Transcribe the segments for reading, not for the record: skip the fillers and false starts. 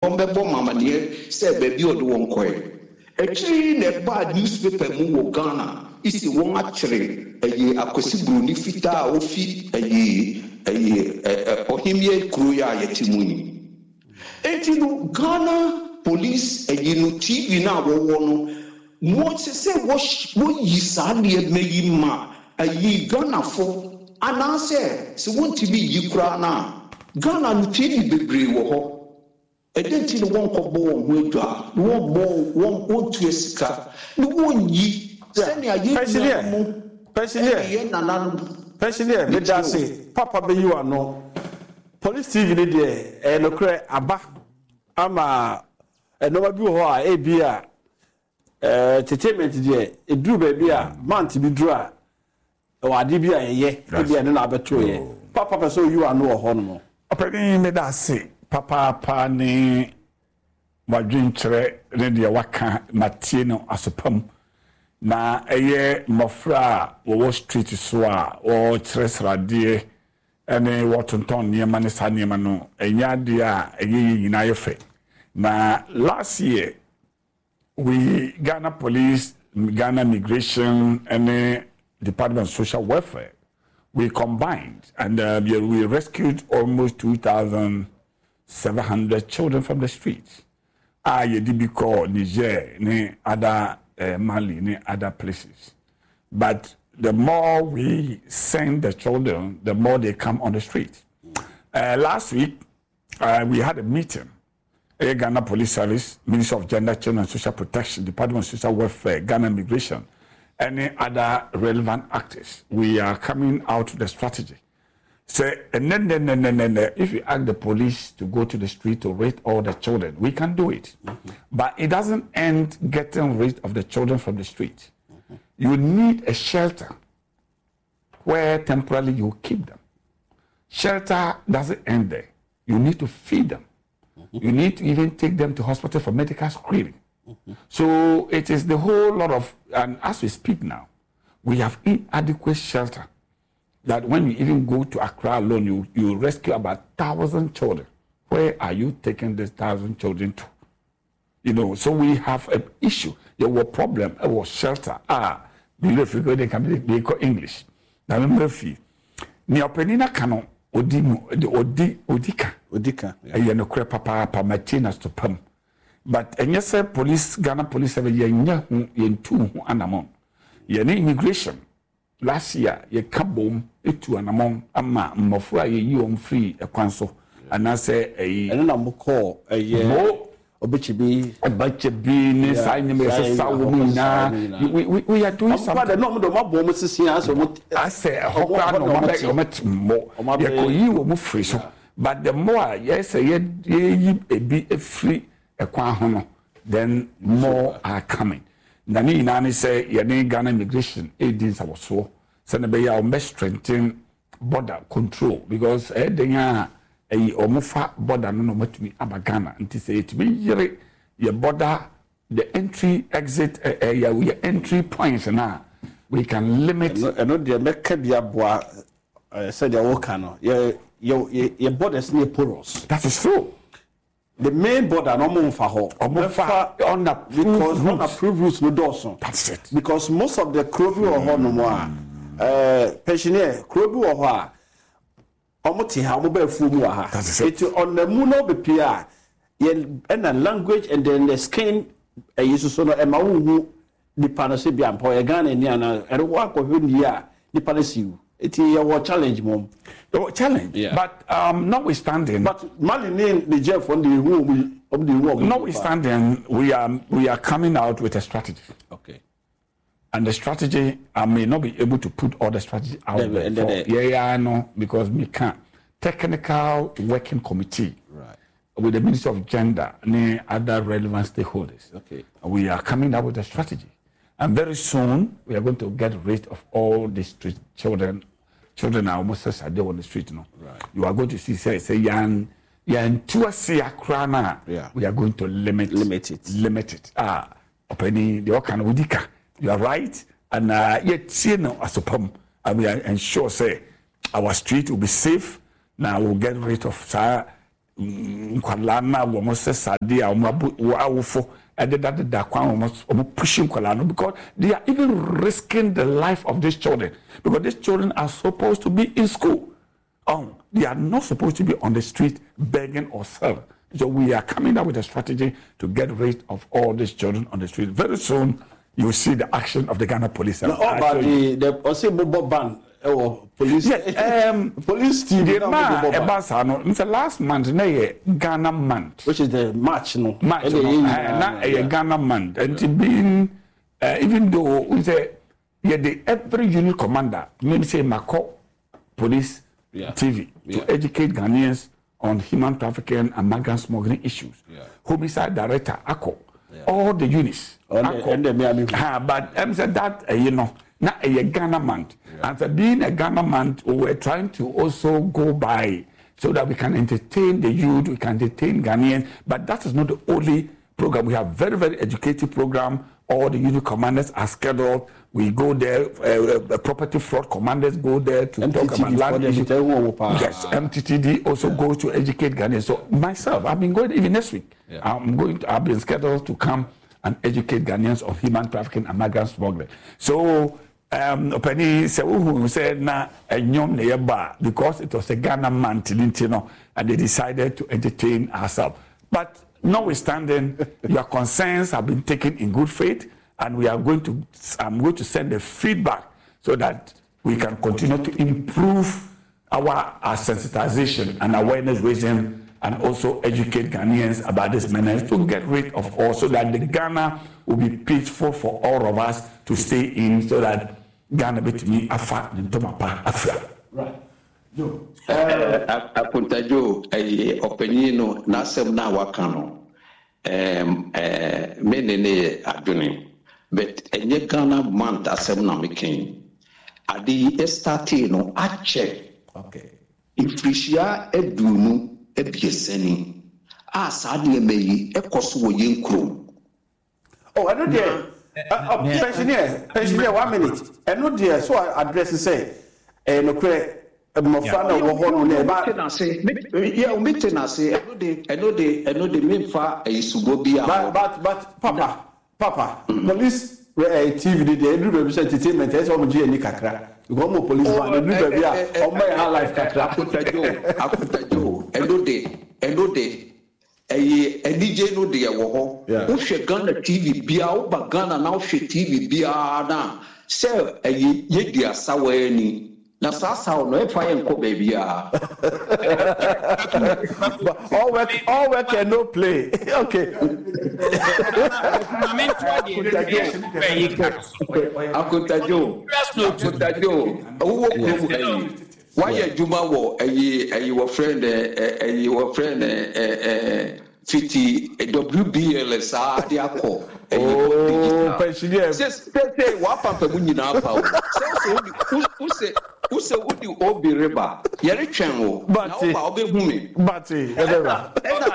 Ɔmbɛbɔ me amaneɛ sɛ baabi a ɔde wɔn kɔɛ. Akyire yi na ɛbaa newspaper mu wɔ Ghana se wɔn akyere ɛye Akwasi Broni fitaa a ofi ɛye ɛye ɛ Ɔhemmeɛ kuro yi a yɛte mu yi. Enti no Ghana police ɛyi no TV no a wɔwɔ no wɔ ɛsɛ sɛ wɔyi saa nneɛma yi ma ɛyi Ghanafo anaasɛ sɛ wɔntumi nyi koraa no a Ghana no TV bebree wɔ hɔ ɛdɛn nti na wɔnkɔbɔ wɔn ho adwaa na wɔmmɔ wɔn wɔntua sika na wɔnyi sɛnea yɛn nuanom ɛne yɛn nananom. Pensioneer, meda ase papa bɛyi w'ano. Police TV no deɛ ɛyɛ nokorɛ aba ama nnoɔma bi wɔ hɔ a ebi a entertainment deɛ ɛduru baabi a month bi duru a ɛwɔ adeɛ bi a yɛyɛ ebi a ɛno na abɛto yɛ papa pɛ sɛ oyi w'ano wɔ hɔ nom. Ɔpanin meda ase papaapa ne w'adwenkyerɛ ne deɛ waka matie no aso pa mu. Na ɛyɛ mmɔfra a wɔwɔ street so a wɔkyerɛ sradeɛ ne wɔtontɔn nneɛma ne saa nneɛma no, ɛnyɛ adeɛ a ɛyɛ yɛn nyinaa yɛ fɛ. Na last year, we Ghana Police, Ghana Migration ne Department of Social Welfare, we combined and uh, we rescued almost 2,700 children from the streets. A yɛde bi kɔɔ Niger ne other eh, Mali ne other places. But the more we send the children, the more they come on the street. Last week, we had a meeting. Ɛyɛ Ghana Police Service, Ministry of Gender, Children and Social Protection, Department of Social Welfare, Ghana Immigration, any other relevant actors. We are coming out with a strategy. Sɛ ɛnɛ nnɛ nnɛ nnɛ nnɛ if you ask the police to go to the street to rape all the children, we can do it. But it doesn't end getting rid of the children from the street. You need a shelter where temporarily you keep them. Shelter doesn't end there. You need to feed them. You need to even take them to hospital for medical screening. So it is the whole lot of, and as we speak now, we have inadequate shelter that when you even go to Accra alone, you, you rescue about 1,000 children. Where are you taking these 1,000 children to? You know, so we have an issue. There were problem, it was shelter. Ah, me they can be English. Na me mmerɛ Nea ɔpanin no aka no, ɔdi mu, ɔdi, ɔdi ka. Ɔdi ka. Ɛyɛ nokorɛ papaapa, mate no aso pa mu. But ɛnyɛ sɛ police, Ghana Police Service, yɛnyɛ ho, yɛntuu ho anamɔn. Yɛne immigration, last year, yɛka boom tu anamɔn ama mmɔfra a yɛyi wɔn firi ɛkwan so, anaasɛ ɛyi. Ɛno na mokɔɔ ɛyɛ. Mo. Ɔbɛkyɛ Ɔbɛkyɛ ne saa nneɛma yɛsesa wɔn nyinaa. We are doing something. Ɔmo de na ɔmo de ɔmo abɔ ɔmo sisi asɛ ɔmo. Asɛ ɛhɔ koraa na ɔmo abɛ ɔmo te mmɔ. Yɛkɔyi wɔn firi so but the more a yɛsɛ yɛ yɛyi ebi efiri ɛkwan ho no, then more are coming. Na ne nyinaa ne sɛ yɛne Ghana Immigration edi nsawɔsoɔ sɛnea ɛbɛyɛ a wɔn bɛ strengthen border control because ɛyɛ den a ɛyi wɔn fa border no na wɔn atumi aba Ghana. Nti sɛ yɛtumi yere yɛ border, the entry exit, ɛ ɛ yɛ yɛ entry points na we can limit. Ɛno deɛ mɛka bi aboa sɛdeɛ woka no, yɛ yɛ yɛ borders no yɛ porous. That is true. The main border no ɔmo nfa hɔ. Ɔmo fa unapproved because unapproved routes no dɔɔso. That's it. Because most of the kuro bi wɔ hɔ nom a ɛɛ pensioner kuro bi wɔ hɔ a ɔmo te ha, ɔmo ba afuo mu wɔ ha. That is it. Eti ɔnam mu na ɔbɛpie a yɛ ɛna language and then the skin ɛyi soso no ɛma wo hu nipa no sɛ bi ampa ɔyɛ Ghana ni anaa ɛno wɔ akɔhwɛ nie a nipa no si wu. Eti yɛwɔ challenge mom. Yɛwɔ challenge. Yeah. But notwithstanding. But Mali ne Niger fo no de ehu wɔn yi, wɔn de ehu wɔn. Notwithstanding, we are coming out with a strategy. And the strategy, I may not be able to put all the strategy out there for yeah, I know because we can't. Technical working committee with the Ministry of Gender and other relevant stakeholders. We are coming up with a strategy. And very soon, we are going to get rid of all the street children. Children are almost as they on the street. No? You are going to see, say, yan, yan, tuase akra na. We are going to limit, limit it. Limit it. Ah, ɔpɛni deɛ ɔka no wodi ka. You are right. And yɛtie no asopam. And we are ensure sɛ our street will be safe. Now we'll get rid of saa. Nkwadaa no a wɔn sɛ sade a wɔn abo wɔn awofo dedadeda kwan wɔn wɔn push nkwadaa no because they are even risking the life of these children because these children are supposed to be in school. Oh, they are not supposed to be on the street begging or selling. So we are coming up with a strategy to get rid of all these children on the street. Very soon, you will see the action of the Ghana police. Na ɔba de the ɔsɛ mobɔ ban ɛwɔ police. Yes, police TV na mo bɔ ban. Ɛba saa no, n last month na yɛ Ghana month. Which is the March no. March no, na ɛyɛ Ghana month. Nti being even though n sɛ yɛde every unit commander nim sɛ makɔ police TV to educate Ghanaians on human trafficking and migrant smuggling issues. Homicide director akɔ all the units akɔ. Ha, but sɛ that na ɛyɛ Ghana month. And so being a Ghana month, we were trying to also go by so that we can entertain the youth, we can entertain Ghanaians, but that is not the only program. We have very, very educative program. All the unit commanders are scheduled. We go there, property fraud commanders go there to MTTD talk about land issues. Yes, MTTD also goes to educate Ghanaians. So myself, I've been going even next week. I've been scheduled to come and educate Ghanaians on human trafficking and migrant smuggling. So, ɔpɛni sɛ wohu sɛ na ɛnyɔm na yɛba because it was a Ghana month and they decided to entertain ourselves. But notwithstanding, your concerns have been taken in good faith, and I'm going to send the feedback so that we can continue to improve our sensitization and awareness raising, and also educate Ghanaians about this menace to get rid of all, so that the Ghana will be peaceful for all of us to stay in, so that Ghana betumi afa ne ntoma pa afra. Right. Joe. Akontajo, ɛyɛ ɔpanyin no n'asɛm na waka no, me ne ne yɛ adwene, but ɛnyɛ Ghana month asɛm na meka yi. Ade yi ɛstartee no akyɛ. Mfirihyia 23 ni a saa nneɛma yi ɛkɔ so wɔ yɛn kurom. Oh, ɛno deɛ, pensioner, pensioner, 1 minute. Ɛno deɛ, so address sɛ, ɛyɛ nokorɛ, mmɔfra na wɔ hɔ no na ɛba. Yeah, mete n'ase. Ɛno de, memfa ɛyi subɔ bi a. But, papa, police TV de deɛ, ɛduru baabi sɛ entertainment, ɛsɛ sɛ wɔn gye ani kakra. Because wɔn police band, ɛduru baabi a, wɔn bɛyɛ high life kakra. Akontajo, ɛno de, ɛyɛ anigye no deɛ wɔ hɔ. Wohwɛ Ghana TV biara, woba Ghana na wohwɛ TV biara na sɛ ɛyɛ yɛdi asawa ani. Na saa asawa no, ɛmfa yɛn nkɔ baabiara. All work and no play. Okay. Akontajo, wowɔ kurom ha yi. Wayɛ adwuma wɔ ɛyi wɔ friend ɛyi wɔ friend fiti WBL saa de akɔ. Oh, pensioner. Sɛ wapampa mu nyinaa pa o. Sɛ wose wodi obi reba, yɛretwɛn wo. Na woba wobɛhu me. Bate, ɛbɛba. Ɛna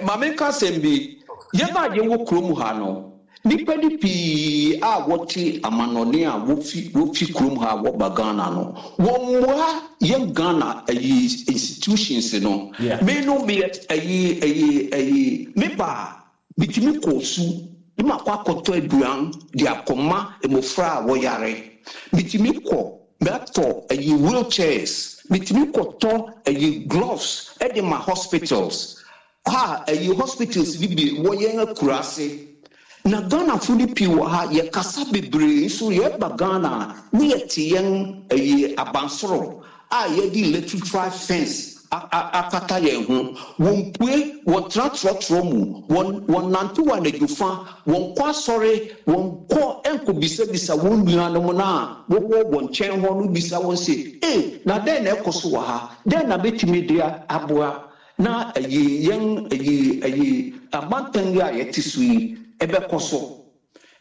maame nka asɛm bi, yɛn a yɛwɔ kurom ha no, nipa ni pii a wɔte amanɔne a wofi kurom ha wɔba Ghana no, wɔn mmoa yɛn Ghana ɛyi institutions no. Me no me ɛyi me ba bitumi kɔ su ne ma kɔ akɔtɔ aduan de akɔma mmɔfra a wɔyare. Bitumi kɔ mɛtɔ ɛyi wheelchairs, bitumi kɔtɔ ɛyi gloves ɛde ma hospitals. Ha ɛyi hospitals bi bi wɔ yɛn akuraase. Na Ghanafo no pii wɔ ha, yɛkasa bebree nso yɛba Ghana ne yɛte yɛn ɛyi abansoro a yɛde electrified fence akata yɛn ho. Wɔn pue, wɔn tena trɔtrɔ mu, wɔn nante wɔ anadwo fa, wɔn kɔ asɔre, wɔn kɔ nkɔ bisabisa wɔn nuanom na wɔwɔ wɔn nkyɛn hɔ no bisa wɔn sɛ, na dɛn na ɛkɔ so wɔ ha? Dɛn na bɛtumi de aboa? Na ɛyi yɛn ɛyi amantan yi a yɛte so yi ɛbɛkɔ so.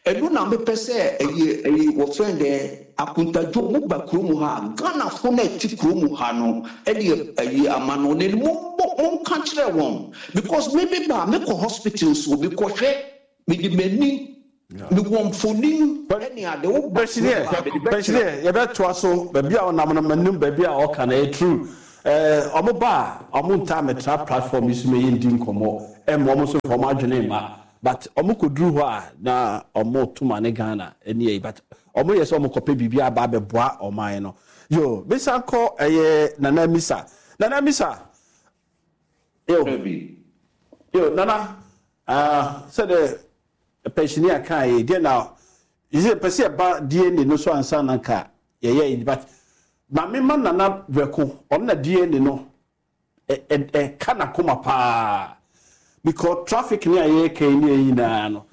Ɛno na mepɛ sɛ ɛyi wɔfrɛ dɛ Akontadwo mo ba kurom ha, Ghanafo na ɛte kurom ha no ɛde ɛyi amanɔne no monka kyerɛ wɔn, because me ba mekɔ hospital so mekɔhwɛ mede m'ani mewɔ mfonin ɛne ade wo ba. Pensioner, yɛbɛtoa so baabi a ɔnam no m'anim baabi a ɔka no ɛyɛ true. Eh, ɔmo ba a, ɔmo ntaa mɛtra platform yi so ma yɛndi nkɔmmɔ, ɛmma ɔmo nso mfa ɔmo adwene mma. But ɔmo kɔduru hɔ a, na ɔmo to ma ne Ghana ɛne ayi, but ɔmo yɛ sɛ ɔmo kɔpɛ biribi aba abɛboa ɔman no. Yo, mesan kɔ ɛyɛ Nana Amisa. Nana Amisa, yo, yo, Nana, ah, sɛdeɛ pɛnhyini kaa yi, deɛ na, yɛ pɛ sɛ yɛba DNA no so ansa na nka yɛyɛ yi, but maame ma Nana Brɛko, ɔno na DNA no ɛka n'akoma paa, because traffic ne a yɛreka yi ne yɛn nyinaa no,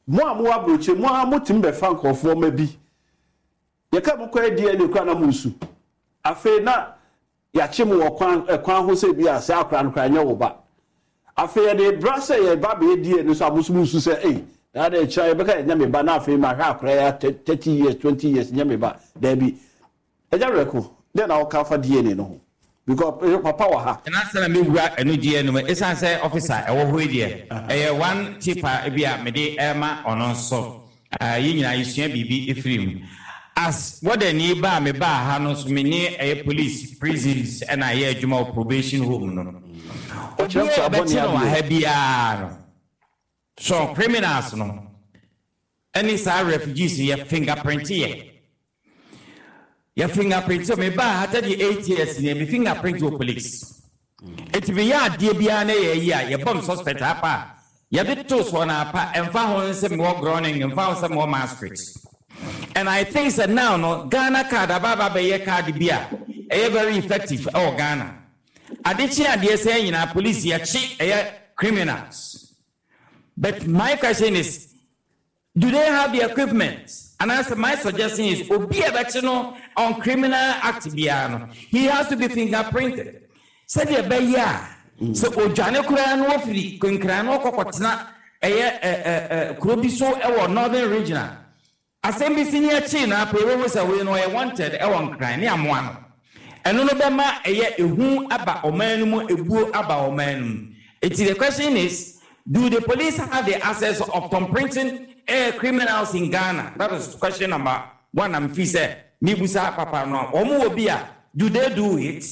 mo a mowɔ aburokyire, mo a motumi bɛfa nkurɔfoɔ ma bi, yɛka mo kɔyɛ DNA koraa na mo nsu. Afei na yɛakye mo wɔ kwan ɛkwan ho sɛ bi a sɛ akora no koraa nyɛ wo ba. Afei yɛde bra sɛ yɛba bɛyɛ DNA no so a mo nso mo nsu sɛ ei, na de kyerɛ yɛbɛka yɛnyɛ me ba na afei mahwɛ akora yi 30 years, 20 years nyɛ me ba. Daabi. Agya Werɛko, dɛn na woka fa DNA no ho? Because papa wɔ ha. Na ansa na mɛwura ɛno deɛ no mu, ɛsiane sɛ officer ɛwɔ hɔ yi deɛ, ɛyɛ one tip a ebi a mede rema ɔno nso. Yɛn nyinaa yɛsua biribi firi mu. As warden ba a mebaa ha no nso, me ne ɛyɛ police, prisons ɛna ɛyɛ adwuma wɔ probation home no. Obiara a yɛbɛkye no wɔ ha biara no, so criminals no, ɛne saa refugees no, yɛ fingerprint yɛ. Yɛ fingerprint yɛ. Mebaa ha 38 years ni, me fingerprint wɔ police. Eti meyɛ adeɛ biara na yɛ yi a, yɛbɔ me suspect apa a, yɛde to soɔ na apa, ɛmfa ho sɛ mewɔ Groningen, ɛmfa ho sɛ mewɔ Maastricht. And I think sɛ now no, Ghana card aba aba bɛyɛ card bi a ɛyɛ very effective ɛwɔ Ghana. Ade kye adeɛ sɛ nyinaa police yɛkye ɛyɛ criminals. But my question is, do they have the equipment? And as my suggestion is, obi a ɛbɛkye no on criminal act biara no, he has to be fingerprinted. Sɛdeɛ ɛbɛyɛ a, sɛ odwane koraa no ofiri Nkran no ɔkɔkɔtena ɛyɛ ɛ ɛ kuro bi so ɛwɔ Northern Region a, asɛm bi si ne akyi na afei wɔhu sɛ wei no ɔyɛ wanted ɛwɔ Nkran ne amoa no. Ɛno no bɛma ɛyɛ ehu aba ɔman no mu, ebuo aba ɔman no mu. Eti the question is, do the police have the access of thumbprinting criminals in Ghana? That is question number one. I'm fi sɛ mibusa papa no, wɔn wɔ bi a, do they do it?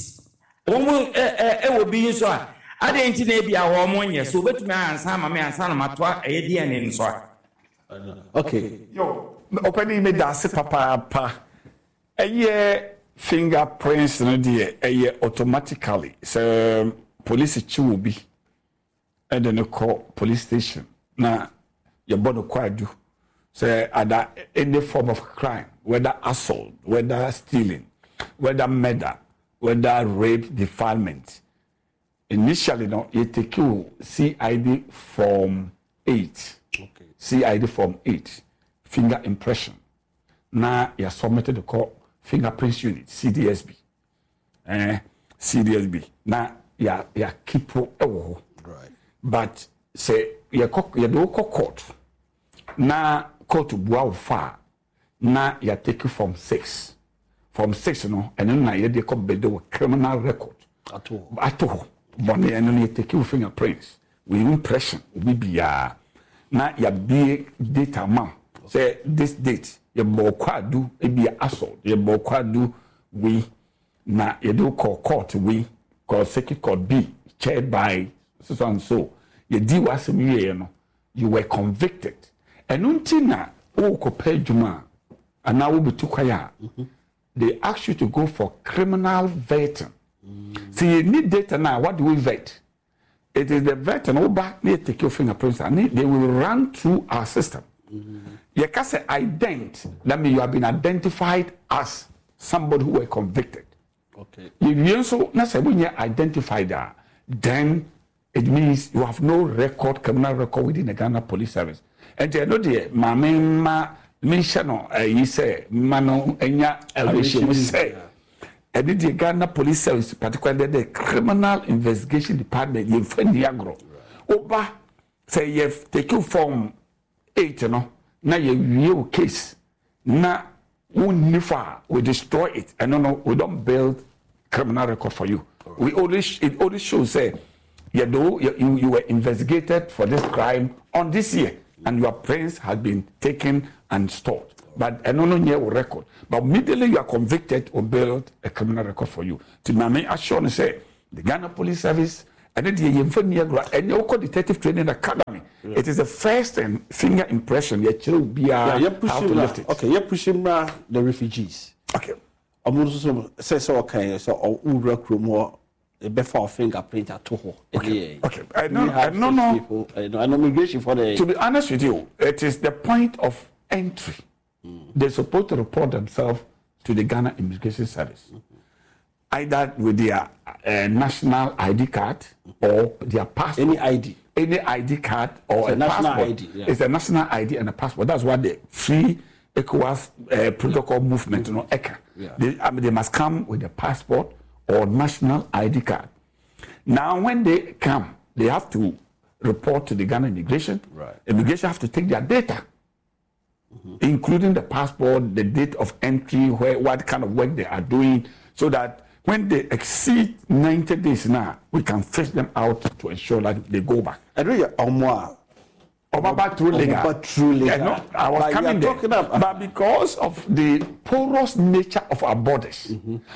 Wɔn ɛwɔ bi nso a, adeɛ nti na ebi a wɔn nyɛ so obetumi ansa ama me ansa na matoa ɛyɛ DNA nso a. Okay. Yo, ɔpɛni, mi da ase papaapa. Ɛyɛ fingerprints no deɛ, ɛyɛ automatically sɛ police kye wo bi ɛde no kɔ police station na yɛbɔ no kwaadu sɛ ada any form of crime, whether assault, whether stealing, whether murder, whether rape, defilement, initially no yɛ take wo CID form 8. CID form 8, finger impression, na yɛ submit de kɔ fingerprints unit, CDSB, CDSB na yɛ yɛ keep ɛwɔ hɔ. But sɛ yɛkɔ, yɛde wo kɔ court na court bua wo fa a, na yɛ take form 6. Form 6 no, ɛno na yɛde kɔ bɛde wɔ criminal record ato hɔ bɔne. Ɛno no yɛ take wo fingerprints, wo impression, obi biara, na yɛabie data ma wo sɛ this date yɛbɔ kwaadu ebi assault, yɛbɔ kwaadu wei na yɛde wo kɔ court wei, kɔ Circuit Court B chaired by so and so, yɛdi w'asɛm wieɛ no, you were convicted. Ɛno nti na wokɔpɛ adwuma a anaa wobɛtu kwan a, they ask you to go for criminal vetting. Sɛ yɛni data no a, what do we vet? It is the vetting. Woba na yɛ take your fingerprints and they will run through our system. Yɛka sɛ ident, that means you have been identified as somebody who were convicted. Yɛwie nso na sɛ wonyɛ identified a, then it means you have no record, criminal record within the Ghana Police Service. Nti ɛno deɛ, maame ma menhyɛ no ayi sɛ ma no anya awerɛhyɛmu sɛ ɛne deɛ Ghana Police Service, particularly the criminal investigation department, yɛmfa nni agorɔ. Woba sɛ yɛ take form 8 no na yɛwie wo case na wonni fa a, we destroy it. Ɛno no, we don't build criminal record for you. We only it only shows say you were investigated for this crime on this year and your prints has been taken and stored. But ɛno no nyɛ wo record. But immediately you are convicted, we build a criminal record for you. Nti ma me assure no sɛ the Ghana Police Service ɛno deɛ yɛmfa nni agorɔ. Ɛnɛ wokɔ Detective Training Academy, it is the first thing, finger impression, yɛkyerɛ obiara Yeah, yɛ how push to mmra. lift it. Okay, yɛ push mmra the refugees. Okay. Ɔmo nso so sɛ sɛ ɔka yɛ sɛ ɔwura kurom hɔ ɛbɛfa wo fingerprint ato hɔ. Okay. Okay. I know, I know, no. People, I know, I know migration for the. To be honest with you, it is the point of entry. They're supposed to report themselves to the Ghana Immigration Service, either with their national ID card or their passport. Any ID. Any ID card or It's a a national passport. ID, yeah. It's a national ID and a passport. That's what the free ECOWAS protocol movement, you know, ECA. Yeah. They, I mean, they must come with a passport or national ID card. Now, when they come, they have to report to the Ghana immigration. Right. Immigration have to take their data, including the passport, the date of entry, where, what kind of work they are doing, so that when they exceed 90 days now, we can fish them out to ensure that they go back. Ɛno yɛ ɔmo a. Ɔmo ba through legal. Ɔmo ba through legal. Yeah, no, I was But you coming are there. talking about- But because of the porous nature of our borders,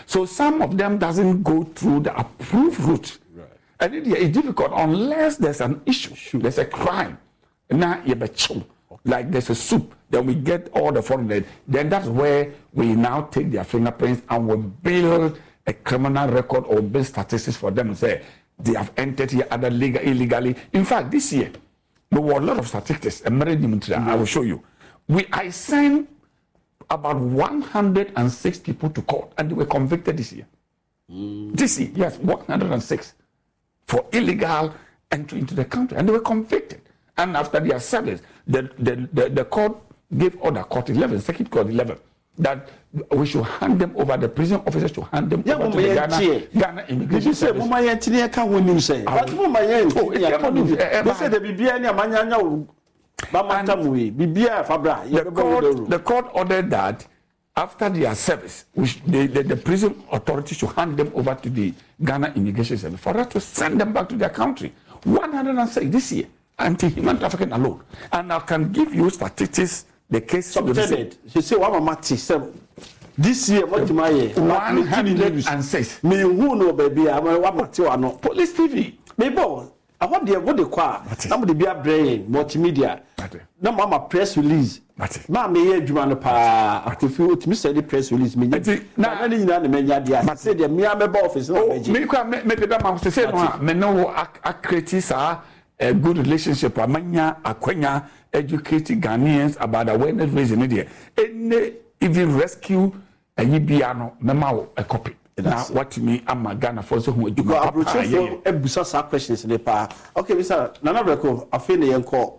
so some of them doesn't go through the approved route. Right. And it is difficult unless there's an issue, there's a crime. Now you be chill. Like there's a soup, then we get all the foreigners. Then that's where we now take their fingerprints and we build a criminal record or build statistics for them and say they have entered here either legal, illegally. In fact, this year, there were a lot of statistics. I will show you. I sent about 106 people to court and they were convicted this year. This year, yes, 106 for illegal entry into the country, and they were convicted. And after their service, the court gave order, Court 11, Circuit Court 11, that we should hand them over, the prison officers should hand them Yeah, over to mama the yɛn Ghana, tie. Ghana Immigration Bibi sɛ Service. moma yɛn tini ɛka ho nim sɛ. But moma yɛn Oh, tini it ɛka ho came nim. on news, They say the biribiara ni amanyanya wo ba mantam wei. Biribiara fa bra. The Yɛbɛbɔ wo court, dawuro. the court ordered that after their service, which the prison authority should hand them over to the Ghana Immigration Service for us to send them back to their country. 106 this year, anti-human trafficking alone. And I can give you statistics, the case. Submitted. She say wa mama te sɛ this year what ma yɛ. 106. Me hu no baabi a wa ma te wa no. Police TV. Me bɔ ɛhɔ deɛ wo de kɔ a Mate. na mo de bi abrɛ yɛn multimedia. Mate. Na mo ama press release. Mate. Maa mi yɛ adwuma no paa akofi otumi sɛ de press release mi nya. Nti, Na na- ne nyinaa na mɛ nya deɛ Mate. ase deɛ mmea mɛba office na Oh, ɔbɛgye. me kwa me me de bɛ ma sɛ sɛ no a me ne wo akreti saa a good relationship a manya akwanya educate Ghanaians about awareness raising ne deɛ ɛne even rescue ayi bia no mɛma wo a copy na That's it. watumi ama Ghana fo sɛ ho adwuma Because papa a yɛyɛ. aburokyerɛfoɔ ebusa saa questions ne paa. Okay, Mr. Nana Breko, afei na yɛn kɔ.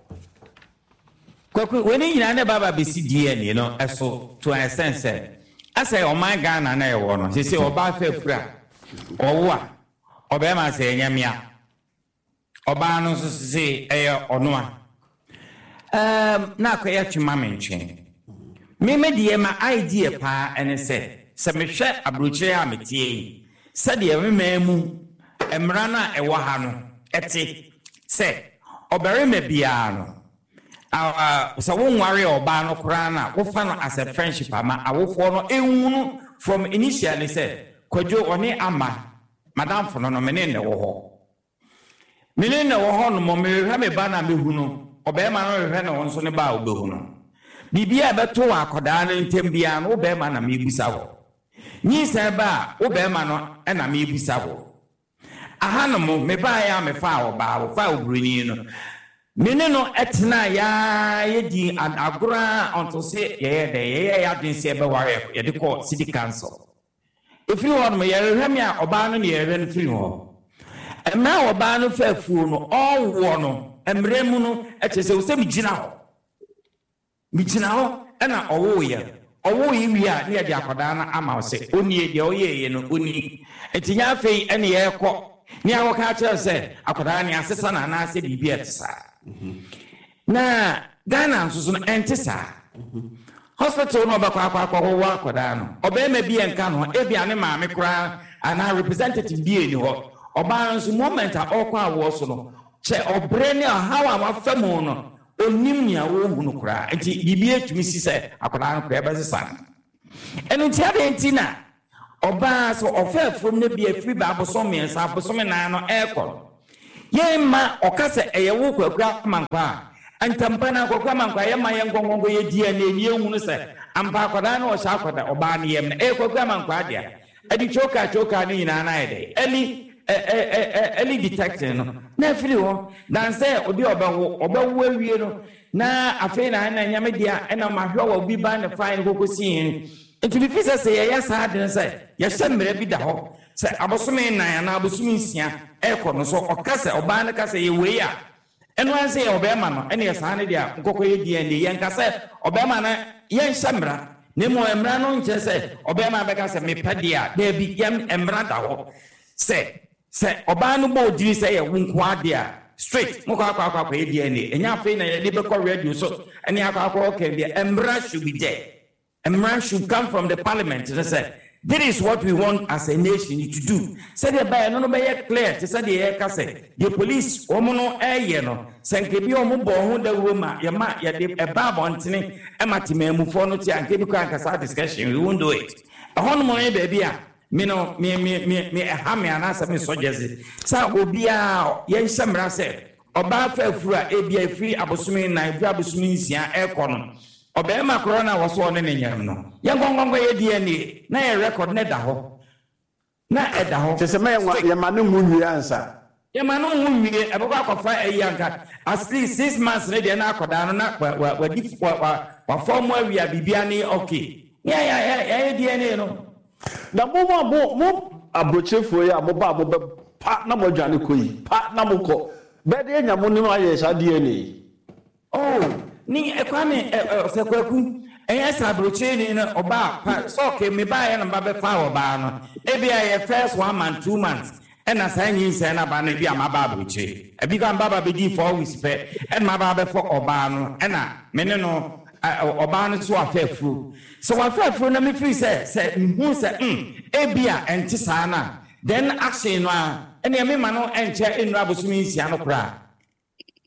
Kwaku, wei ne nyinaa ne baba bɛsi DNA no ɛso to an extent sɛ asɛ ɔman Ghana na ɛwɔ no sɛ ɔbaa fɛ fura ɔwo a ɔbɛrima sɛ ɛnyɛ mmea ɔbaa no nso sɛ ɛyɛ ɔno a na akɔyɛ twema me nkyɛn meme deɛ ma idea paa ɛne sɛ sɛ mehwɛ aburokyire a metie yi sɛdeɛ me man mu mmara no a ɛwɔ ha no ɛte sɛ ɔbarima biara no sɛ wonware ɔbaa no koraa no a wofa no as a friendship ama awofoɔ no ɛhunu from initially sɛ Kwadwo ɔne ama madamfo no no mene ne wɔ hɔ mene ne wɔ hɔ nom mehwehwɛ me ba no a mehu no ɔbarima no hwehwɛ ne wo nso ne ba a wobɛhu no biribi a ɛbɛto wɔ akɔdaa no ntam biara no wo bɛrima na mebusa wɔ nyinsɛn ba a wo bɛrima no ɛna mebusa wɔ aha nom mebaeɛ a mefaa ɔbaa wɔfaa oburoni no me ne no ɛtena yaa yɛdi agorɔ a ɔnto se yɛyɛ dɛ yɛyɛ yɛ adwene sɛ yɛbɛware yɛde kɔ city council ɛfiri hɔ nom yɛrehwɛ me a ɔbaa no ne yɛrehwɛ no firi hɔ mmerɛ a ɔbaa no fa afuo no ɔwoɔ no mmerɛ mu no ɛkyerɛ sɛ wo sɛ megyina hɔ megyina hɔ ɛna ɔwoeɛ ɔwoeɛ wie a ne yɛde akwadaa no ama wo sɛ ɔnie deɛ ɔyɛeɛ no ɔni nti nyɛ afei ɛne yɛrekɔ ne akɔka kyerɛ sɛ akwadaa ne asesa no anaasɛ biribi a ɛte saa na Ghana nso so no ɛnte saa hospital no ɔbɛkɔ akɔ akɔwɔ akwadaa no ɔbɛrima bi ɛnka no ho ebia ne maame koraa anaa representative bi ɛni hɔ ɔbaa no nso moment a ɔrekɔ awoɔ so no kyɛ ɔbrɛ ne ɔhaw a wafa mu no Ɔnnim nea ɔrehunu koraa. Nti biribi atumi si sɛ akwadaa no koraa ɛbɛsesa no. Ɛno nti adɛn nti na ɔbaa sɛ ɔfa afuom no bi afiri bɛ abosom mmiɛnsa, abosome nan no ɛrekɔ no, yɛmma ɔka sɛ ɛyɛ wo Kwaku Amankwaa a, ntɛmpa no ara Kwaku Amankwaa yɛmma yɛnkɔ nkɔnkɔ yɛ DNA na yɛnhunu sɛ ampa akwadaa no ɔhyɛ akwadaa ɔbaa no yam no ɛyɛ Kwaku Amankwaa dea. Ɛde chokaa chokaa no nyinaa no ayɛ dɛn? Early ɛ ɛ ɛ ɛ early detecting no na afiri hɔ than sɛ obi a ɔbɛwo ɔbɛwo awie no na afei na ɛna ɛnyɛ me dea ɛna mahwɛ wɔ obi ba ne fae no kɔkɔ sii he. Nti mefi sɛ sɛ yɛyɛ saa ade no sɛ yɛhyɛ mmara bi da hɔ sɛ abosome nnan anaa abosome nsia ɛrekɔ no so ɔka sɛ ɔbaa no ka sɛ yɛ wei a Ɛno ara sɛ yɛ ɔbarima no ɛne saa no deɛ a nkɔkɔ yɛ DNA. Yɛnka sɛ ɔbarima no yɛnhyɛ mmara na mmom mmara no nkyerɛ sɛ ɔbarima bɛka sɛ mepɛ deɛ a, daabi, yɛn mmara da hɔ sɛ sɛ ɔbaa no bɔ odini sɛ yɛ wo nko ara deɛ a straight mokɔ akɔ akɔ akɔyɛ DNA. Ɛnyɛ afei na yɛde bɛkɔ radio so ɛne akɔ akɔ ɔka deɛ, mmara should be there. Mmara should come from the parliament no sɛ this is what we want as a nation to do sɛdeɛ ɛbɛyɛ ɛno no bɛyɛ clear te sɛ deɛ yɛreka sɛ deɛ police wɔn no reyɛ no sɛ nka ebi wɔn bɔɔ ho dawuro ma yɛma yɛde ɛba abɔntene ɛma temanmufoɔ no te a nka ebi koraa nka saa discussion we won't do it. Ɛhɔ nom ne baabi a me no me me me me ɛha me anaasɛ me sɔ gyɛse sɛ obiara yɛnhyɛ mmara sɛ ɔbaa fa afuru a ebia efiri abosome nnan efiri abosome nsia ɛrekɔ no Ɔbarima korɔ no a wɔse ɔne no nyem no, yɛnkɔ nkɔ nkɔyɛ DNA na yɛ record no da hɔ. Na ɛda hɔ. Kyerɛ sɛ ma yɛma no nwo nwie ansa. Yɛma no nwo nwie, ɛbɛkɔ akɔfa ayi anka at least 6 months no deɛ na akɔdaa no na wa wa wadi wa wa wafɔm mu awie a biribiara ne okay. Ne yɛ yɛ yɛayɛ DNA no. Na mo a mo mo aburokyerefoɔ yi a mo ba a mo bɛ pa na mo adwane kɔ yi, pa na mo kɔ, bɛyɛ de anya mo ne mo ayɛ saa DNA yi? Oh ne Kwame ɛ ɛ ɔsɛ Kwaku ɛnyɛ sɛ aburokyereni no ɔbaa pa sɛ ɔke me baeɛ na meba bɛfaa ɔbaa no ebia ɛyɛ first one month 2 months ɛna saa nyinsɛn no aba no ebia maba aburokyire ebi koraa meba ba bɛdii 4 weeks pɛ ɛna maba abɛfa ɔbaa no ɛna me ne no ɛ ɔbaa no nso wafa afuro sɛ wafa afuro na mefiri sɛ sɛ mehu sɛ mm ebia ɛnte saa no a then action no a ɛneɛ mema no ɛnkyɛ ɛnnuru abosome nsia no koraa.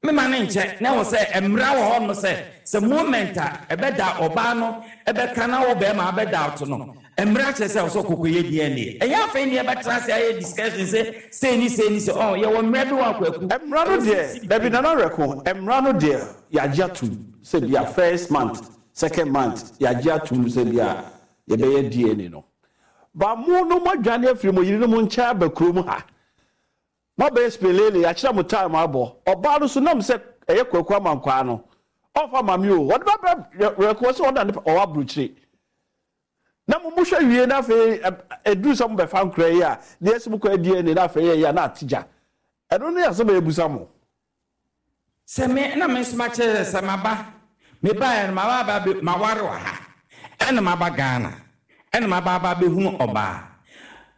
Mema no nkyɛ na ɛwɔ sɛ mmra wɔ hɔ nom sɛ sɛ moment a ɛbɛda ɔbaa no ɛbɛka na wo bɛɛma abɛ doubt no mmra kyerɛ sɛ ɛwɔ sɛ ɔkɔ kɔyɛ DNA. Ɛnyɛ afei ne yɛbɛtena ase ayɛ discussion sɛ sei ne sei ne sei ɔɔ yɛwɔ mmra bi wɔ Akwaku Mmra no ɛwɔ sɛ deɛ ɛsi dabi biribi. Nana Werɛko mmra no deɛ yɛagye atom sɛ bia first month second month yɛagye atom sɛ bia yɛbɛyɛ DNA no but mo no moadwane afiri mo yerenom nkyɛn aba kurom ha Moabɛyɛ spelele, yɛakyerɛ mo time abɔ. Ɔbaa no so nam sɛ ɛyɛ Kwaku Amankwaa no, ɔmfa mma me o. Ɔde bɛbrɛ Werɛko, ɔse ɔno na ne ɔwɔ abrokyire. Na mo mohwɛ wie na afei ɛduru sɛ mobɛfa nkora yi a, na yɛse mokɔyɛ DNA na afei yɛyɛ a na ate gya. Ɛno ne asɛm a yɛbusa mo. Sɛ me na me nso makyerɛ sɛ sɛ maba, mebaeɛ no maba aba abɛ maware wɔ ha, ɛna maba Ghana, ɛna maba aba abɛhunu ɔbaa,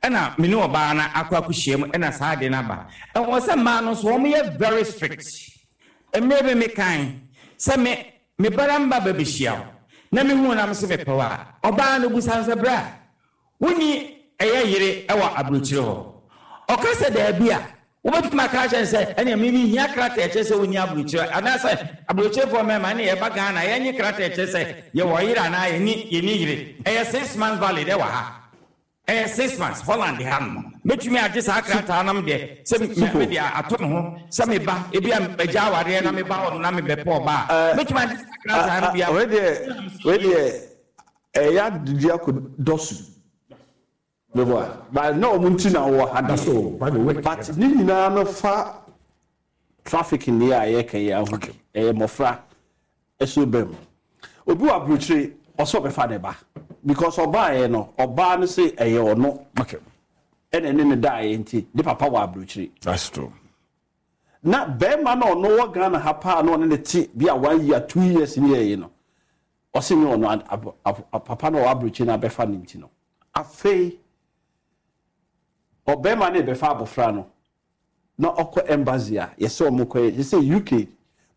ɛna me ne ɔbaa no akɔ akɔhyia mu ɛna saa adeɛ no aba. Ɛwɔ sɛ mmaa no nso wɔyɛ very strict. Mmerɛ bi mekae sɛ me me bara mba bɛbɛhyia wo na mehu na mese mepɛ wo a, ɔbaa no busa no sɛ bra, Wonni ɛyɛ yere wɔ aburokyire hɔ? Ɔka sɛ daabi a, wobɛtumi aka akyerɛ no sɛ, ɛneɛ me mehia krataa ɛkyerɛ sɛ wonni aburokyire anaasɛ aburokyirefoɔ mmarima ɛne yɛba Ghana yɛnye krataa ɛkyerɛ sɛ yɛwɔ yere anaa yɛnni yɛnni yere. Ɛyɛ 6 months valid ɛwɔ ha. Ɛyɛ 6 months Holland ha nom. Mɛtumi agye saa krataa nom deɛ sɛ Supo. mede ato me ho sɛ meba ebi a magya awareɛ na meba hɔ nom na mebɛpɛ ɔbaa a, mɛtumi agye saa krataa no bi Wei ama. deɛ wei deɛ ɛyɛ adedi akɔ dɔso meboa but na wɔn nti na wɔwɔ ha That's deɛ all. By the way, but ne nyinaa no fa traffic ni a yɛka yi aho ɛyɛ mmɔfra ɛso bɛm obi wɔ aburokyire ɔsɛ ɔbɛfa ne ba because ɔbaayɛ no ɔbaa no sɛ ɛyɛ ɔno ɛna ɛne ne daayɛ nti ne papa wɔ aburokyire. That's true. Na bɛrima na ɔno wɔ Ghana ha paa na ɔne ne te bi a one year 2 years ne yɛyi no ɔsɛ nye ɔno papa na ɔwɔ aburokyire na abɛfa ne nti no afei ɔbɛrima no bɛfa abɔfra no na ɔkɔ embassy a yɛsɛ ɔmo kɔyɛ yɛsɛ UK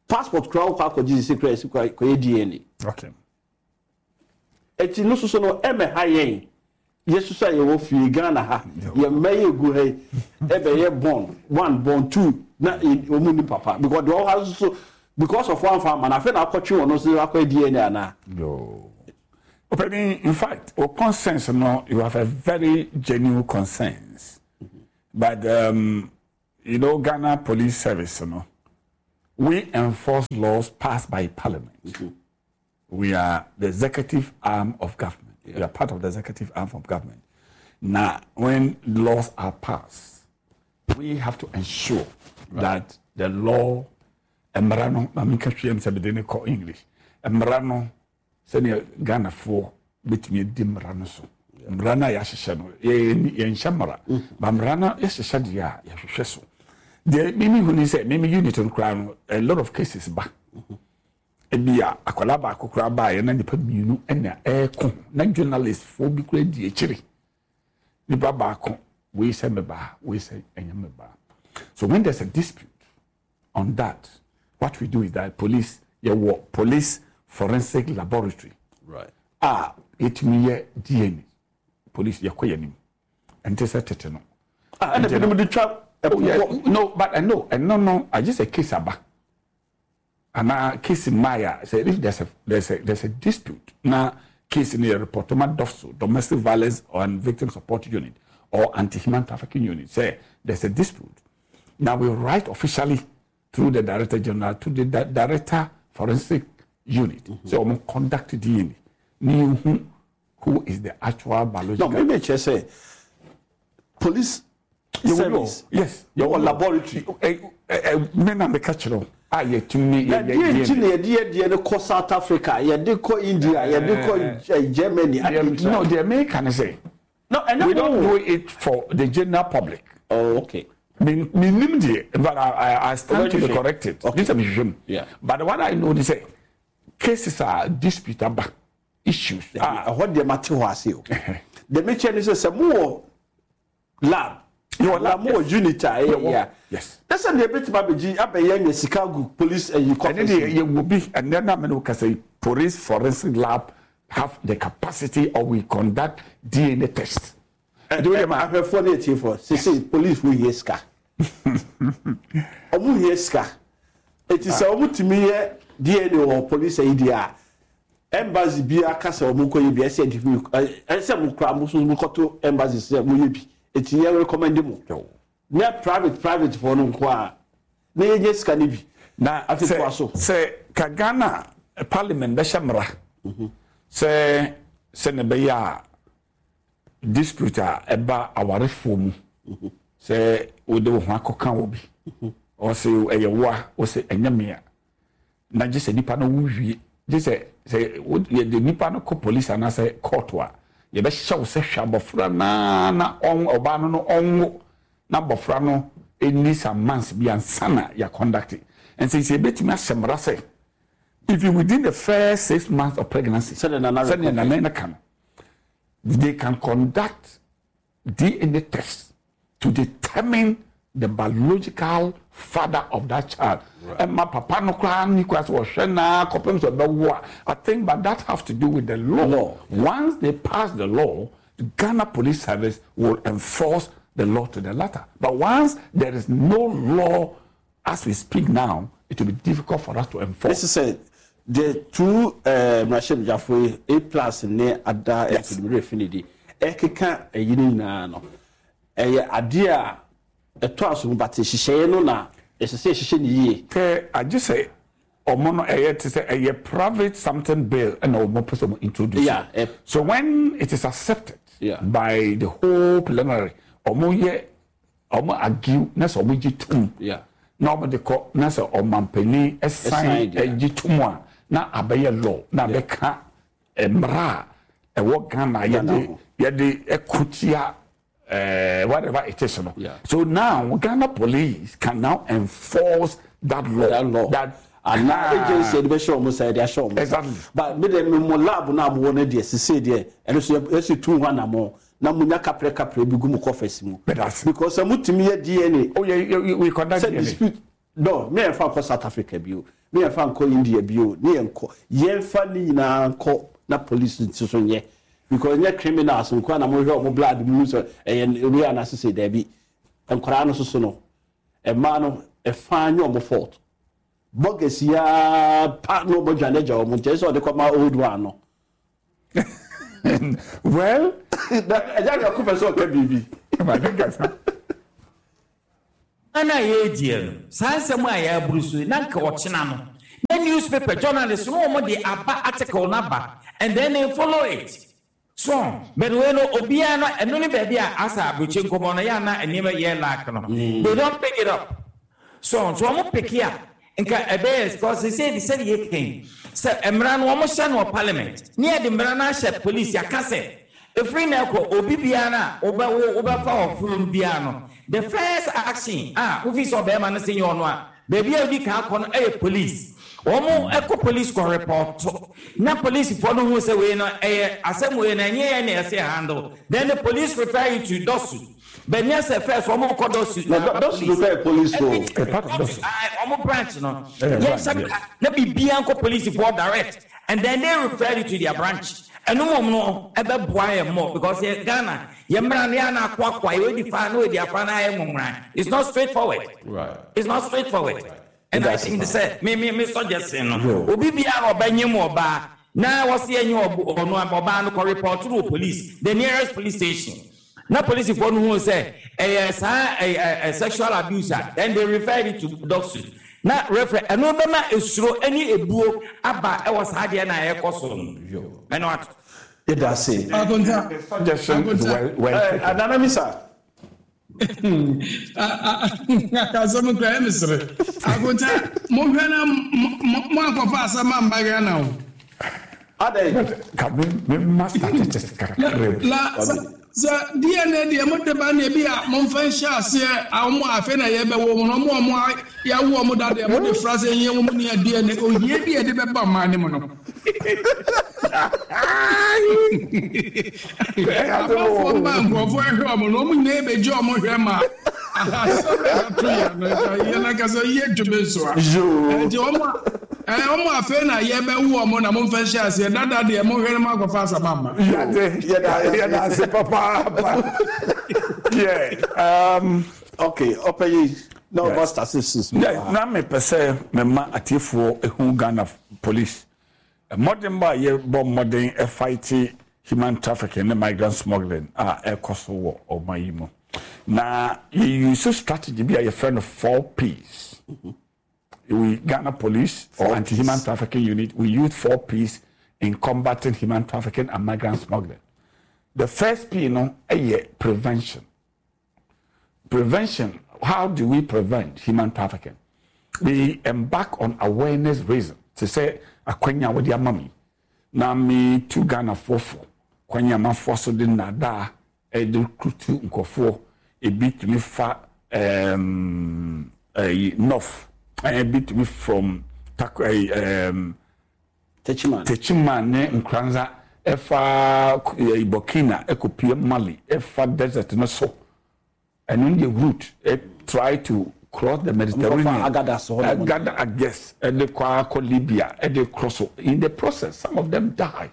passport koraa wokɔ akɔgye sɛ koraa yɛsɛ kɔyɛ DNA. Eti no soso no ɛmɛ ha yɛn yɛsoso a yɛwɔ fie Ghana ha yɛn mma yɛ egu ha yi ɛbɛyɛ born one, born two na wɔn ni papa because deɛ ɔwɔ ha soso. Because of wamfa amma no, afei na akɔtwe wɔn nso akɔyɛ DNA anaa? Yoo. Ɔpanin, in fact, wo concerns no, you have a very genuine concerns. But um, you know, Ghana Police Service no, we enforce laws passed by parliament. Mm -hmm. We are the executive arm of government. Yeah. We are part of the executive arm of government. Now, when laws are passed, we have to ensure right. that the law, mmara no, ma menka hwee sɛ mede ne kɔ English, mmara no, sɛnea Ghanafoɔ bɛtumi adi mmara no so. Mmara no a yɛahyehyɛ no, yɛnhyɛ mmara, mm. ba mmara no yɛhyehyɛ deɛ a yɛhwehwɛ so. Deɛ mimi hu ni sɛ, mimi unit no koraa no, a lot of cases ba. Mm -hmm. Ebia akwadaa baako koraa baeɛ na nnipa mmienu na ɛreko na journalist foɔ bi koraa di akyire. Nipa baako wei sɛ me baa, wei sɛ ɛnyɛ me baa. So when there's a dispute on that, what we do is that police yɛwɔ police forensic laboratory right. a yɛtumi yɛ DNA police yɛkɔ yɛn anim ɛnte sɛ tete no. Ah, ɛna binom de twa ɛpo oh, no but ɛno ɛno no agye sɛ case aba. Anaa case mmaeɛ a, sɛ if there's a there's a there's a dispute na case no yɛ report ma DOVSO, Domestic Violence and Victim Support Unit or Anti-Human Trafficking Unit sɛ there's a dispute, na we write officially through the Director General to the Director Forensic Unit sɛ wɔn conduct DNA na yɛhu who is the actual biological. No, maybe kyerɛ sɛ police service. Yes. Yɛwɔ laboratory. Me na meka kyerɛ wo a yɛtumi yɛ yɛ yɛ. Nti na yɛde yɛ deɛ no kɔ South Africa, yɛde kɔ India, yɛde kɔ Germany. No, deɛ meka ne sɛ. No, ɛnyɛ We don't do it for the general public. Oh, okay. Me me nim deɛ, but I stand to be corrected. Okay. This is me. Yeah. But what I know is sɛ cases a dispute aba. issues a. Ɛhɔ deɛ mate hɔ ase o. Deɛ mekyerɛ ne sɛ sɛ mowɔ lab anaa mowɔ unit a ɛyɛ yɛ a, Yes. na sɛ deɛ ɛbɛtumi abɛgye abɛyɛ anya sika agu police ayi Ɛne coffers deɛ mu. yɛwɔ bi ɛnɛ na mene wo kasa yi police forensic lab have the capacity or we conduct DNA test. Ɛ ɛ ahwɛfoɔ ne atiefoɔ sesei police foɔ hia sika. Ɔmo hia sika. Eti sɛ ɔmo tumi yɛ DNA wɔ police ayi deɛ a, Embassy biara ka sɛ ɔmo nkɔ yɛ bi a ɛsɛ yɛde bi ɛsɛ mo koraa mo nso mo kɔto embassy sɛ mo yɛ bi eti yɛ recommend mo nyɛ private private foɔ no nko a na yɛ nya sika no bi Na afei sɛ toa so. sɛ ka Ghana parliament bɛhyɛ mmara sɛ sɛnea ɛbɛyɛ a dispute a ɛba awarefoɔ mu sɛ wode wo ho akɔka obi ɔse ɛyɛ wo a wose ɛnyɛ me a na gye sɛ nipa no wo wie gye sɛ sɛ yɛde nipa no kɔ police anaasɛ court a yɛbɛhyɛ wo sɛ hwɛ abɔfra naa na ɔn ɔbaa no no ɔnwo na abɔfra no ɛni some months bi ansa na yɛ conduct nti sɛ yɛbɛtumi ahyɛ mmara sɛ if you within the first 6 months of pregnancy Sɛdeɛ Nana sɛdeɛ rekɔ Nana no ka no they can conduct DNA test to determine the biological father of that child. Ɛma papa no koraa ni koraa sɛ ɔhwɛ naa kɔpem sɛ ɔbɛwo a, I think but that have to do with the law. Law. Once they pass the law, the Ghana Police Service will enforce the law to the letter. But once there is no law as we speak now, it will be difficult for us to enforce. This is a the two mmarahyɛbadwafoɔ yi A plus ne ada mfidimmerɛ finidi ɛkeka ɛyi no nyinaa no ɛyɛ adeɛ a ɛtɔ aso mu but nhyehyɛeɛ no na ɛsɛ sɛ yɛhyehyɛ no yie. Sɛ agye sɛ ɔmo no ɛyɛ te sɛ ɛyɛ private something bill ɛna ɔmo pɛ sɛ ɔmo introduce. Yeah, ɛ. So when it is accepted Yeah. by the whole plenary, ɔmo yɛ ɔmo argue na sɛ ɔmo gye tum Yeah. na ɔmo de kɔ na sɛ ɔmampanin Ɛsan ɛsan deɛ. ɛgye tum a na abɛyɛ law na abɛka mmara a ɛwɔ Ghana Ghana yɛde ho. yɛde ɛko tia whatever it is no. Yeah. So now Ghana police can now enforce that law. That law. That anaa agency yɛde bɛhyɛ wɔn nsa yɛde ahyɛ wɔn nsa. Exactly. But me deɛ me mo lab no a mowɔ no deɛ sesei deɛ ɛno so yɛsi tu ho anamɔ na monya kaprɛ kaprɛ bi gu mo coffers mu. But Because sɛ motumi yɛ DNA. Oh yeah, yeah, we conduct sɛ DNA. Dispute no me yɛn fa nkɔ South Africa bio, me yɛn fa nkɔ India bio, ne yɛn nkɔ yɛn fa ne nyinaa nkɔ na police nso so nyɛ because nyɛ criminals nko na mo hwɛ ɔmo blood mu sɛ ɛyɛ wei anaasɛ sɛ daabi nkwaraa no soso no mmaa no ɛfa nyɛ ɔmo fault. Burgers yi ara pa na wɔn adwane agya wɔn nti ɛsɛ sɛ ɔde kɔma old one no. Well. Na ɛgya nyako pɛ sɛ ɔka biribi. Maame kasa. Ana yɛrediɛ no, saa nsɛm a yɛaburu so yi, na nka ɔkyena no, na newspaper journalist no wɔn de aba article no aba and then they follow it. So, but wei no obiara no ɛno ne baabi a asa aburokyi nkɔmɔ no yɛ ana nneɛma yɛ lack no. They don't pick it up. So, nso wɔn pick a nka ɛbɛyɛ because sɛ sɛ sɛdeɛ yɛka yi sɛ mmara no wɔn hyɛ no wɔ parliament ne yɛde mmara no ahyɛ police yɛaka sɛ ɛfiri na ɛkɔ obi biara a wobɛ wo wobɛfa ɔforo no biara no the first action a wofi sɛ ɔbɛrima no sɛ nyɛ ɔno a baabi a wodi kan akɔ no ɛyɛ police wɔn ɛkɔ police kɔ report na polisifoɔ no hu sɛ wei no ɛyɛ asɛm wei no ɛnyɛ yɛn na ɛsɛ handle then the police refer you to DOSU. But nyɛ sɛ first wɔn kɔ dɔsu na aba police. Dɔsu no police fo. Ɛyɛ part of dɔsu. Wɔn branch no. Yɛn hyɛ bra na biribiara nkɔ police foɔ direct and then they refer it to their branch. Ɛno mmom no ɛbɛ boa yɛn more because yɛ Ghana yɛ mmara no yɛ ana akoakoa yɛ odi fa na odi afa na ayɛ nwonwran. It's not straight forward. It's not straight forward. And I think sɛ me me me suggestion no obi biara ɔbɛnyem ɔbaa na wɔsi ɛnyɛ ɔno ɔbaa no kɔ report no wɔ police the nearest police station. Na polisifoɔ no huu sɛ ɛyɛ saa ɛ sexual abuse a, then they referred it to DOVVSU. Na refer ɛno bɛma esuro ne ebuo aba ɛwɔ saa adeɛ no a ɛrekɔ so no. Ɛno ato. Yɛda ase. Akonta. The suggestion is Akonta. well, well taken. Nana Misa. Asɛm kura ɛmi sere. Akonta, mohwɛ na mo akɔfa asɛm amba Ghana o. Adɛn? Ka me me ma statistics kakra bi. La sɛ sɛ DNA deɛ mo de ba na ebi a mo nfa nhyɛ aseɛ a wɔn a afei na yɛbɛwɔ wɔn no wɔn a wɔn a yɛawo wɔn da deɛ mo de fra sɛ yɛn wɔn ni DNA ohia bi a yɛde bɛba ɔman ne mu no. Amanfoɔ mma nkurɔfoɔ ɛhwɛ wɔn no wɔn nyinaa ebegye wɔn hwɛ ma asɛm a ɛto yɛn no yɛn ankasa yɛ ntumi nsoa. Ɛnti wɔn a ɛɛ wɔn afei na yɛbɛwo wɔn na mo nfa nhyɛ aseɛ dada deɛ mo hwɛ no mo akɔfa asɛm ama. Yɛde yɛda yɛda ase papaapa. Yeah. Okay, ɔpɛ yi na ɔba statistics. Yeah, na mepɛ sɛ mema atiefoɔ ehu Ghana police. Mmɔdenbɔ a yɛbɔ mmɔden fight human trafficking ne migrant smuggling a ɛkɔ so wɔ ɔman yi mu. Na yɛ use strategy bi a yɛfrɛ no 4 Ps. We Ghana Police or Anti-Human Trafficking Unit, we use 4 Ps in combating human trafficking and migrant smuggling. The first P no ɛyɛ prevention. Prevention, how do we prevent human trafficking? We embark on awareness raising. Te sɛ akwanya a wɔde ama me na me tu Ghanafoɔ fo kwan a amanfoɔ so de nnadaa ɛde kutu nkurɔfoɔ. Ebi tumi fa ɛyi north, ebi tumi from tak ɛyi Techiman. Techiman ne Nkranza ɛfa ɛyi Burkina ɛkɔpie Mali, ɛfa desert no so. Ɛno ne yɛ route ɛ try to cross the Mediterranean. Agada so hɔ nom. Agada, yes, ɛde kɔ akɔ Libya, ɛde cross so. In the process, some of them die.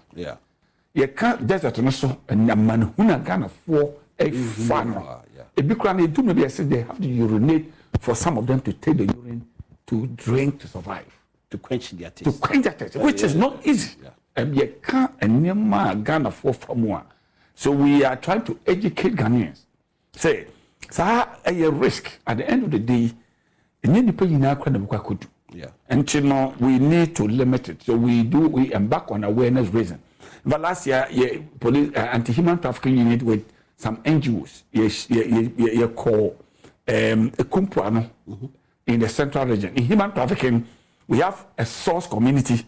Yɛka desert no so amanehunu a Ghanafoɔ ɛfa no, ebi koraa no edu mu bi ɛsɛ they have to urinate for some of them to take the urine to drink to survive. To quench their to thirst. Quench their thirst, which is not easy. Yɛka nneɛma a Ghanafoɔ fa mu a, so we are trying to educate Ghanaians sɛ saa ɛyɛ risk. At the end of the day, ɛnyɛ nipa nyinaa kora na bɛkɔ akɔdu. Nti no we need to limit it, so we embark on awareness raising. But last year, yɛ police anti-human trafficking unit with some NGOs yɛ yɛ yɛ yɛ kɔ Ekumpuano in the Central Region. In human trafficking, we have a source community,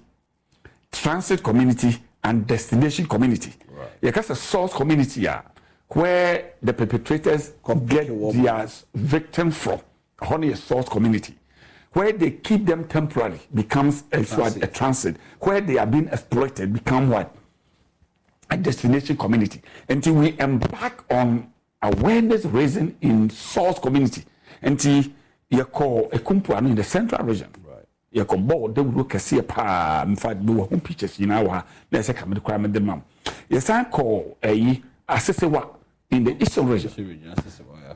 transit community and destination community. Yɛka sɛ source community a, where the perpetrators get their victim from, ɛhɔ no yɛ source community. Where they keep them temporarily becomes a transit. A transit. Where they are being exploited become what? A destination community. Until we embark on awareness raising in source community. Nti yɛkɔ Ekumpuano in the Central Region. Yɛkɔ bɔɔl dawuro kɛseɛ paa. In fact, mewɔ ho pictures nyinaa wɔ ha na ɛsɛ ka mede koraa mede mam. Yɛsan kɔ ɛyi Asesewa in the Eastern Region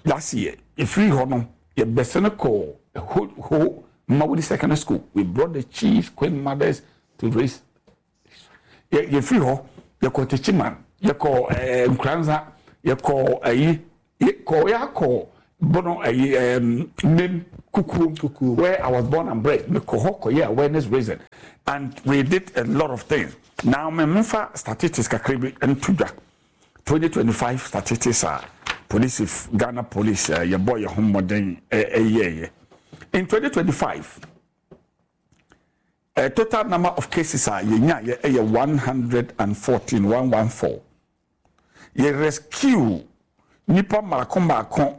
last year. Ɛfiri hɔ no, yɛbɛsɛ no kɔ Ho Ho. Mawuli Secondary School. We brought the chiefs, queen mothers to raise. Yɛfiri hɔ, yɛkɔ Techiman, yɛkɔ eh, Nkoranza, yɛkɔ ayi, yɛkɔ yɛakɔ Bono ayi um, Mem Kukuom, Kukuom, where I was born and bred. Mekɔ hɔ kɔyɛ awareness raising and we did a lot of things. Now me memfa statistics kakra bi nto dwa. 2025 statistics a police Ghana police eh, yɛbɔ yɛn ho mmɔden ɛyɛɛyɛ. In 2025 eh, total number of cases a yɛnyaeɛ ɛyɛ 114 114. Yɛ rescue nipa mmaako mmaako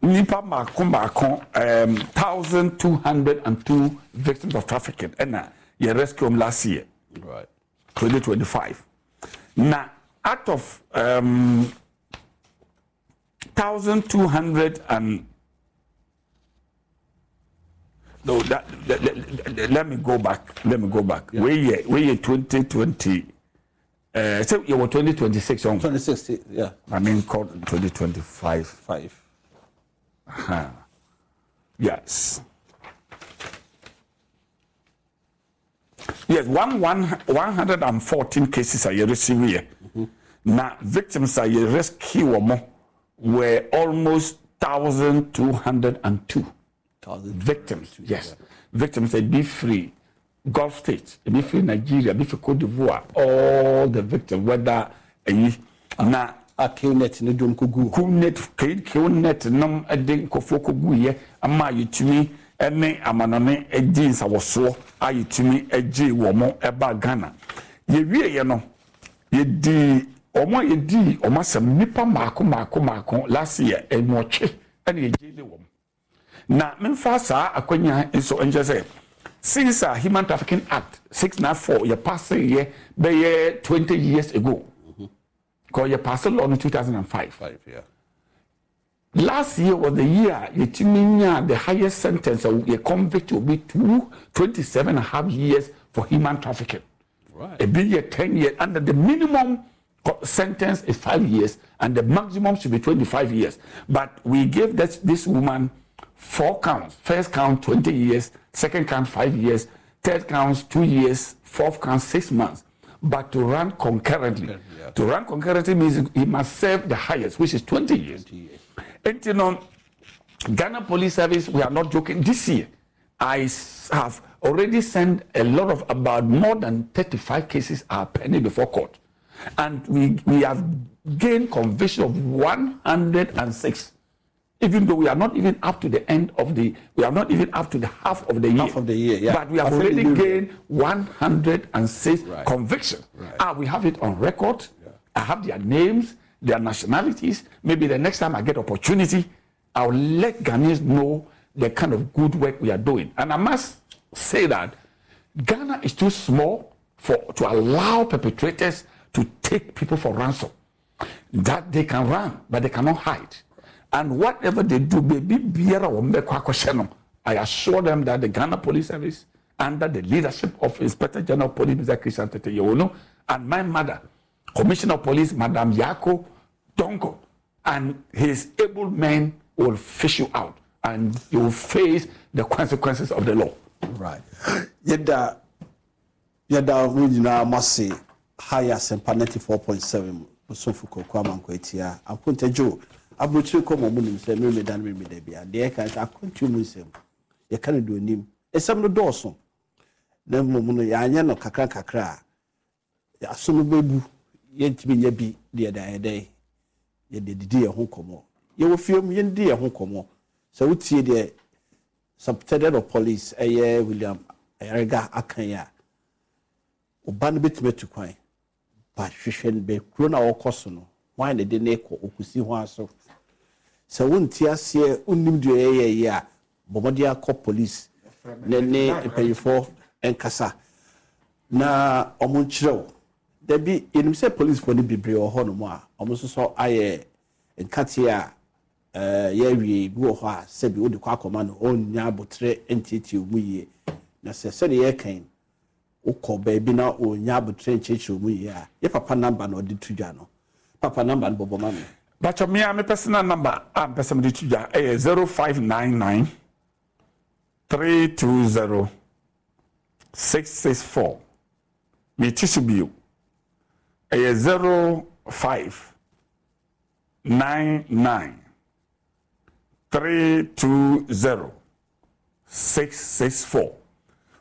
nipa mmaako mmaako um, 1202 victims of trafficking ɛna yɛ rescue them last year. Right. 2025. Na out of um, 1200 and no that, that, that, let me go back let me go back yeah. we year we year 2020 uh, so you were 2026 on 2026 yeah I mean called 2025 five uh-huh. yes Yes, 114 cases a yɛ receive yɛ. Na victims a yɛ rescue wɔn were almost 1,202 victims. Yes, victims ebi firi Gulf states, ebi firi Nigeria, ebi firi Cote d'Ivoire, all the victims whether eyi na. A Qnet no dwom kɔguu. Qnet, Qnet nom de nkurɔfoɔ kɔguiɛ ma yɛtumi ne amanɔne dii nsawɔsoɔ a yɛtumi gyee wɔn baa Ghana. Yɛwieɛ no, yɛdii wɔn a yɛdii wɔn asɛm nnipa mmaako mmaako mmaako last year nwɔtwe na yɛgyeele wɔn. Na memfa saa akwanya yi nso nkyerɛ sɛ since a Human Trafficking Act 694 yɛpaseeɛ bɛyɛ 20 years ago, because yɛpaase law no 2005. Five, yeah. Last year was the year a yɛtumi nyaa the highest sentence a yɛ convict obi to 27 and a half years for human trafficking. Right. Ebi yɛ 10 years and the minimum sentence is 5 years and the maximum should be 25 years. But we gave this woman 4 counts. First count 20 years, second count 5 years, third count 2 years, fourth count 6 months. But to run concurrently. Yeah. To run concurrently means he must serve the highest, which is 20 years. 20 years. And you know, Ghana Police Service, we are not joking. This year, I have already sent a lot of about more than 35 cases are pending before court. And we have gained conviction of 106. Even though we are not even up to the end of the, we are not even up to the half of the year. Half of the year, yeah. But we have Half of the already year. gained 106 Right. convictions. Right. We have it on record. Yeah. I have their names, their nationalities. Maybe the next time I get opportunity, I'll let Ghanaians know the kind of good work we are doing. And I must say that Ghana is too small to allow perpetrators to take people for ransom. That they can run, but they cannot hide. And whatever they do, baby, biara wo mbekɔ akɔhyɛ no. I assure them that the Ghana Police Service, under the leadership of Inspector General of Police, Mr. Christian Tetteh Yohuno, and my mother, Commissioner of Police, Madam Yako Donko, and his able men will fish you out, and you will face the consequences of the law. Right. Yɛda, yɛda mo nyinaa mo ase. Ha yɛ Asɛmpa 94.7 Bosomfo Kwaku Amankwa Atia. Akonta Joe, aburokyire kɔ ma ɔmo nim sɛ mmemme da no mmemme da bia. Deɛ yɛka sɛ akwantuo mu nsɛm, yɛka no deɛ onim. Nsɛm no dɔɔso. Na mmom no, yɛanyɛ no kakra kakra a, aso no bɛbu, yɛntumi nyɛ bi deɛ da yɛ dɛn. Yɛde didi yɛn ho nkɔmmɔ. Yɛwɔ fie mu, yɛndidi yɛn ho nkɔmmɔ. Sɛ wotie deɛ Superintendent of Police ɛyɛ William Ayariga aka yi a, ɔba no bɛtumi atu kwan. Ba hwehwɛ no bɛ kuro no a ɔkɔ so no, hwan na de ne kɔ ɔkɔsi ho aso. Sɛ wonte aseɛ, wonnim deɛ ɔyɛyɛ yi a, bɔ mmɔden akɔ police ne ne mpanyinfoɔ nkasa na ɔmo nkyerɛ wo. Dabi, yɛnim sɛ policefoɔ no bebree wɔ hɔnom a ɔmo nso so ayɛ nkateɛ a yɛawie bi wɔ hɔ a sɛbi wode kɔ akɔma no ɔnnya abotire ntietie mu yie. Na sɛ sɛdeɛ yɛka yi, wokɔ baabi na ɔnnya abotire nkyerɛkyerɛ mu yie a, yɛ papa number na ɔde to dwa no. Papa number no bɔbɔ ma me. Bakyɛ me a me personal number a mpɛ sɛ mede to dwa ɛyɛ 0599. 320 664. Meti so bio. Ɛyɛ 05 99 320 664.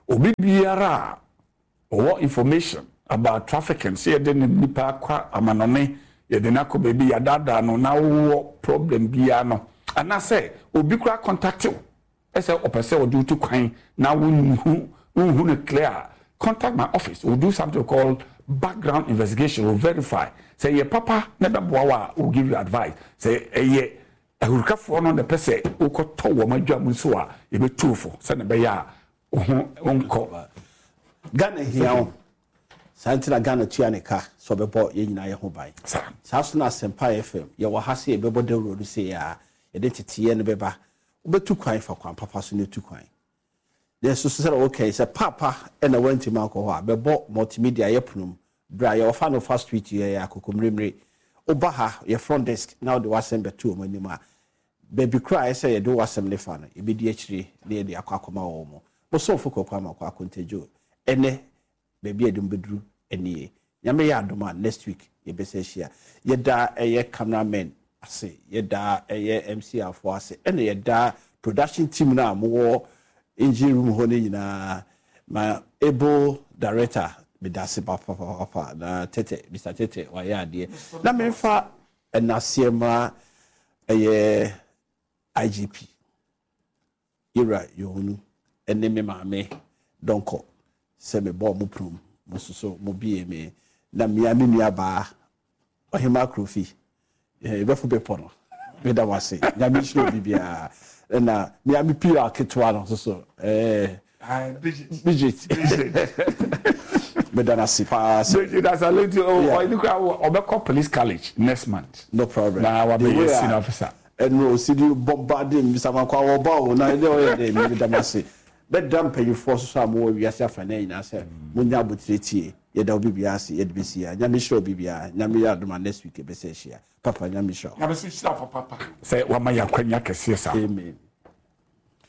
Obi biara a ɔwɔ information about trafficking, sɛ yɛde ne nipa akɔ amanɔne, yɛde no akɔ baabi, yɛadaadaa no na wowɔ problem biara no, anaasɛ obi koraa contact wo ɛsɛ ɔpɛ sɛ ɔde wotu kwan na wonhu wonhu no clear a, contact my office. We'll do something called background investigation. We'll verify sɛ ɛyɛ papa na ɛbɛboa wo a, we'll give you advice. Sɛ ɛyɛ ahurikafoɔ no na ɛpɛ sɛ wokɔtɔ wɔn adwa mu nso a, yɛbɛtu wo fo sɛdeɛ ɛbɛyɛ a wo ho nkɔ. Ghana hia wo. Saa nti na Ghana tua ne ka sɛ ɔbɛbɔ yɛn nyinaa yɛn ho ban. Saa nso na Asempa FM, yɛwɔ ha sɛ yɛbɛbɔ dawuro no sei ara, yɛde nteteeɛ no bɛba. Wobɛtu kwan, fa kwan papa so na tu kwan. Nanso so sɛdeɛ woka yi, sɛ paapa na woantumi ankɔ hɔ a, bɛbɔ multimedia yɛ pono mu. Bra, yɛwɔ Fanofa Street, yɛyɛ Akokommeremmere. Woba ha, yɛ front desk na wode w'asɛm bɛto wɔn anim a, baabi koraa a ɛsɛ sɛ yɛde w'asɛm no fa no, yɛbɛdi akyire na yɛde akɔ akɔma wɔn. Mo somfo Kwaku Amankwah Akontagyo, ɛnnɛ Baabi a yɛde mo bɛduru nie. Nyame yɛ adom a next week yɛbɛsan ahyia. Yɛda ɛyɛ camera men ase, yɛda ɛyɛ MCR foɔ ase, ɛna yɛda production team no a mowɔ engine room hɔ no nyinaa. My able director, meda ase papapapa na Tete, Mister Tete wayɛ adeɛ. Na memfa ɛnaseɛ ma ɛyɛ IGP. Yewura Yohunu ne me maame Donkor sɛ me bɔɔ mo prum, mo nso so mo bie me na mea me nua baa Ɔhemaa Krofi, yɛbɛfo bepɔ no, me da mo ase, Nyame nhyira obi biara, ɛna mea me PR ketewa no nso so, ɛɛ Bridget, me da no ase paa sɛ. Bridget Asalenti, ɔyɛ kura ɔbɛkɔ police college next month. No problem. Na wabɛyɛ senior officer. Ɛno osi de bombarding me bisa makɔ a wɔba o na ɛdɛ ɔyɛ dɛ me meda mo ase. Bɛda mpanyinfoɔ nso so a mowɔ wiase afanan nyinaa sɛ monya aboterɛ tie. Yɛda obi biara ase yɛde bɛsi ha. Nyame nhyira obi biara. Nyame yɛ adom a next week yɛbɛsan ahyia. Papa Nyame nhyira wo. Nyame nso nhyira wo papaapa sɛ wama yɛn akwanya kɛseɛ saa. Amen.